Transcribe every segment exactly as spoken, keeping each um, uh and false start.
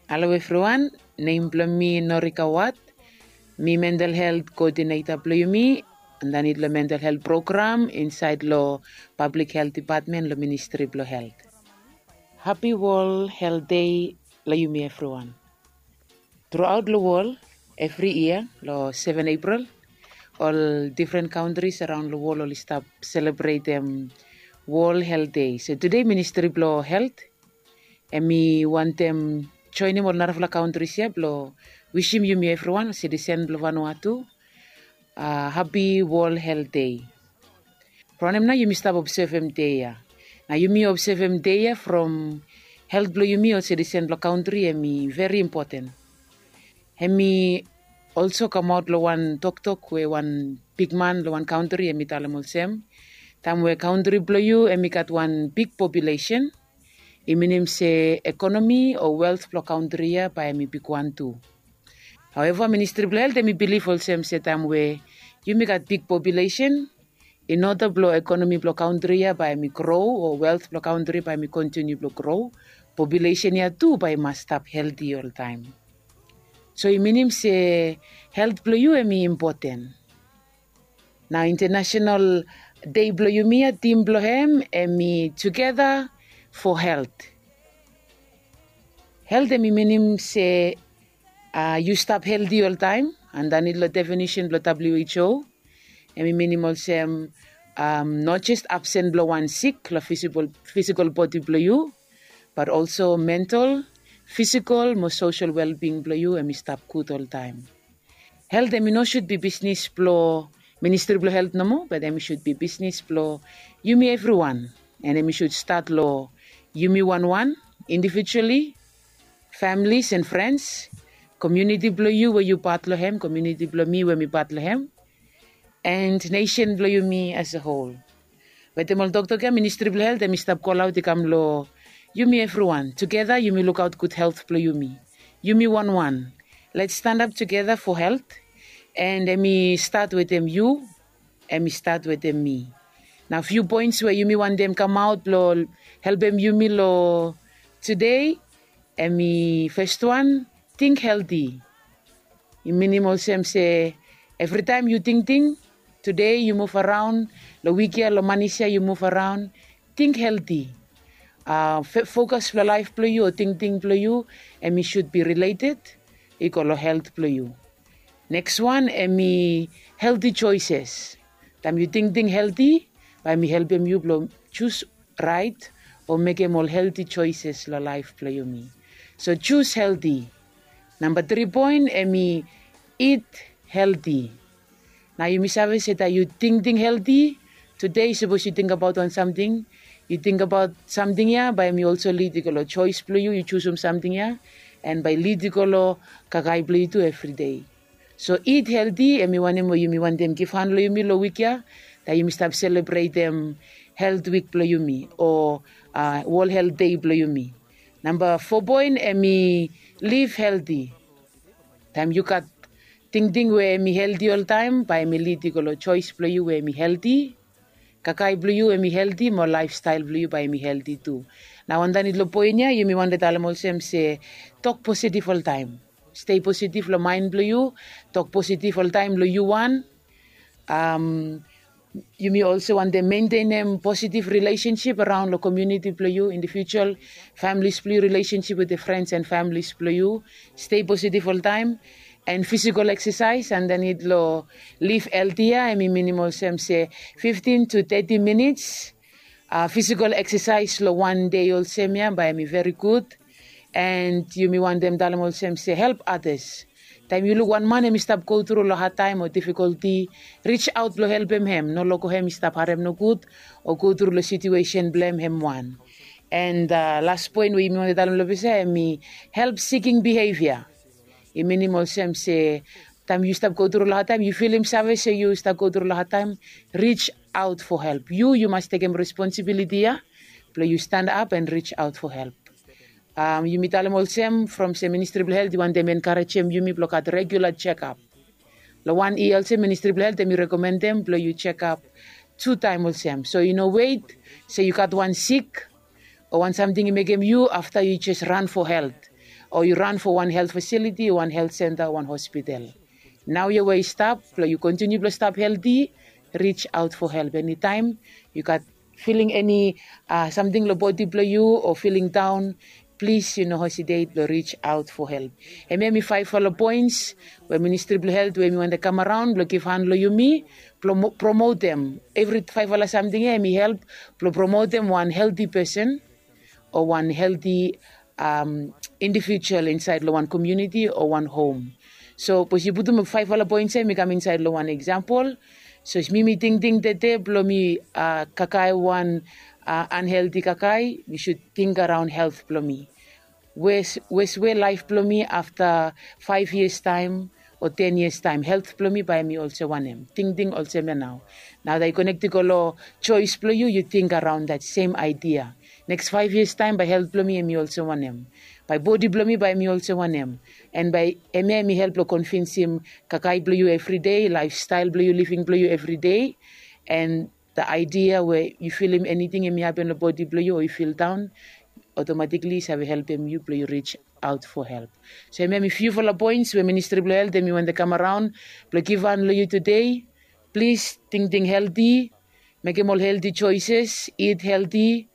Halo evriwan, nem blong mi Norika Wat. Mi mental helt koodineta blong yumi andanit long mental helt program insaed long Pablik Helt Depatmen long Ministri blong Helt. Hapi Wol Helt Dei long yumi evriwan. Truaot long wol, evri yia long seven Epril, ol difren kantris araon long wol oli stap selebretem Wol Helt Dei. So tude Ministri blong Helt hemi wantem joenem ol narafala kantris ya blong wisim yumi evriwan ol sitisen blong Vanuatu hapi Wol Helt Dei. From wanem nao yumi stap obsevem dei ya? Nao yumi obsevem dei ya from helt blong yumi ol sitisen blong kantri hemi veri impoten. Hemi olso kamaot long wan toktok we wan bigman long wan kantri hemi talem olsem, taem we kantri blong yu hemi gat wan big populesen, i minim se ekonomi o welt blong kantri ya bae hemi bigwan tu. Haoeva, Ministri blong Helt hemi bilif olsem se taem we yumi gat big populesen, in oda blong ekonomi blong kantri ya bae hemi gro o welt blong kantri bae hemi kontiniu blong gro, populesen ya tu bae i mas stap helti oltaem. So i minim se helt blong yu hemi impoten. Nao Intenasenal Dei blong yumi ya, tim blong hem hemi Tugeta fo Helt. Helt hemi minim se yu stap helti oltaem. Andanit long definisen blong WHO, hemi minim olsem, no jes absen blong wan sik long fisikol bodi blong yu, bat olso mental, fisikol mo sosel welbing blong yu hemi stap gud oltaem. Helt hemi no sud bi bisnis blong Ministri blong Helt nomo, bat hemi sud bi bisnis blong yumi evriwan. An hemi sud stat long yumi wanwan, indivijuali, familis an frens, komuniti blong yu we yu pat long hem, komuniti blong mi we mi pat long hem, an nesen blong yumi as a hol. Wetem ol toktok ya, Ministri blong Helt hemi stap kolaot i kam long yumi evriwan. Tugeta yumi lukaot gud helt blong yumi. Yumi wanwan. Lets stanap tugeta fo helt. An hemi stat wetem yu, hemi stat wetem mi. Nao fiu poens we yumi wantem kamaot blong helpem yumi long tude, hemi fes wan, ting helti. I minim olsem se evritaem yu tingting, tude yu muv araon, long wik ya, long manis ya yu muv araon, ting helti. Fokas blong laef blong yu o tingting blong yu hemi sud bi rileted i go long helt blong yu. Neks wan hemi helti joeses. Taem yu tingting helti, bae hemi helpem yu blong jus raet o mekem ol helti joeses long laef blong yumi. So jus helti. Namba tri poen hemi it helti. Nao yumi save se taem yu tingting helti, tude sapos yu tingbaot wan samting, yu tingbaot samting ya, bae hemi olso lid i go long joes blong yu, yu jusum samting ya, an bae i lid i go long kakae blong yu tu evride. So it helti hemi wanem we yumi wantem givhan long yumi long wik ya, taem yumi stap selebretem Helt Wik blong yumi o Wol Helt Dei blong yumi. Namba fo poen hemi liv helti. Taem yu gat tingting we hemi helti oltaem, bae hemi lid i go long joes blong yu we hemi helti, kakae blong yu hemi helti, mo laefstael blong yu bae hemi helti tu. Nao andanit long poen ya yumi wantem talem olsem se tok positif oltaem. Stei positif long maen blong yu. Tok positif oltaem long yu wan. Yumi olso wantem mentenem positif rilesensip araon long komuniti blong yu, indivijual, familis blong yu, rilesensip wetem frens an familis blong yu. Stei positif oltaem. An fisikol eksesaes andanit long liv helti ya, hemi minim olsem se fiftin tu teti minits fisikol eksesaes long wan dei olsem ya, bae hemi veri gud. An yumi wantem talem olsem se help atas. Taem yu luk wan man hemi stap gotru long hadtaem o difikolti, rijaot blong helpem hem, no loko hem i stap harem nogud o gotru long situesen blong hem hem wan. An las poen we yumi wantem talem long ples ya hemi help siking bihevia. I minim olsem se taem yu stap gotru long hadtaem, yu filim save se yu stap gotru long hadtaem, rijaot fo help. Yu yu mas tekem responsibiliti ya blong yu stanap an rijaot fo help. Yumi talem olsem from se Ministri blong Helt i wantem enkarejem yumi blong gat regula jekap. Long wan yia olsem Ministri blong Helt hemi rekomendem blong yu jekap tu taem olsem. So i no wet se yu gat wan sik o wan samting i mekem yu afta yu jes ran fo helt. o yu ran fo wan helt fasiliti o wan helt senta o wan hospital. Nao ya we i stap blong yu kontiniu blong stap helti, rij aot fo help eni taem yu gat filing eni samting long bodi blong yu o filing daon, plis yu no hesitet blong rij aot fo help. Em ya em i faefala poens we ministri blong helt we em i wantem kam araon blong givhan long yumi blong promotem evri faefala samting ya em i help blong promotem wan helti pesen o wan helti indivijual insaed long wan komiuniti o wan hom. So bikos yu putum faefala poens ya em i kam insaed long wan eksampol. So mi mi tingting tete blong mi kakae wan anhelti kakae mi sud ting araon helt blong mi. Wes we laef blong mi afta faef yias taem o ten yias taem helt blong mi bae em i olsem wanem tingting olsem ya nao. Nao dat i konekti go long joes blong yu yu ting araon dat sem aidia. Neks faef yias taem bae helt blong mi em i olsem wanem? Bae bodi blong mi bae em i olsem wanem? An bae em ya em i help long konvinsim kakae blong yu evri dei laefstael blong yu living blong yu evri dei. An da aidia we yu filim eniting em i hapen long bodi blong yu o yu fildaon, otomatikli i save helpem yu blong yu rij aot fo help. So em ya em i fiufala poens we ministri blong helt em i wantem kam araon blong givhan long yu tude. Plis tingting helti, mekem ol helti joeses, it helti,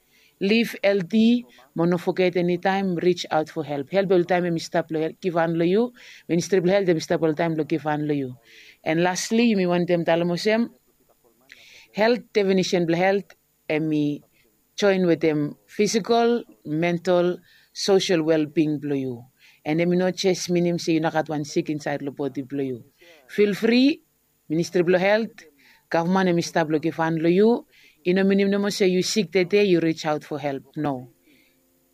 liv helti, mo no foget enitaem rij aot fo help help oltaem em i stap long givhan long yu. Ministri blong helt em i stap oltaem long givhan long yu. An lasli yumi wantem talem olsem, helt definisen blong helt em i joen wetem fisikol, mental, sosel welbing blong yu. An em i no jes minim se yu no gat wan sik insaed long bodi blong yu. Filfri, ministri blong helt, gavman em i stap long givhan long yu. I no minim nomo se yu sik tede yu rij aot fo help no.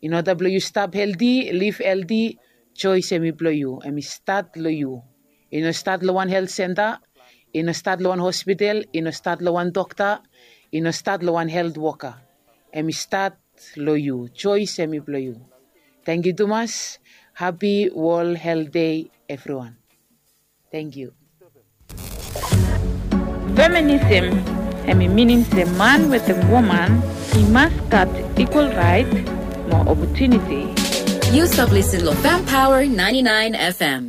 In oda blong yu stap helti, liv helti, joes em i blong yu em i stat long yu. I no stat long wan helt senta, i no stat long wan hospital, i no stat long wan dokta, i no stat long wan helt woka. Em i stat long yu joes em i blong yu. Tangkiu tumas. Hapi wol helt dei evriwan. Tangkiu. Feminism em i minim se man wetem woman i mas gat ikwal raet mo opotuniti. Yu stap lisin long Fem Power ninety-nine F M.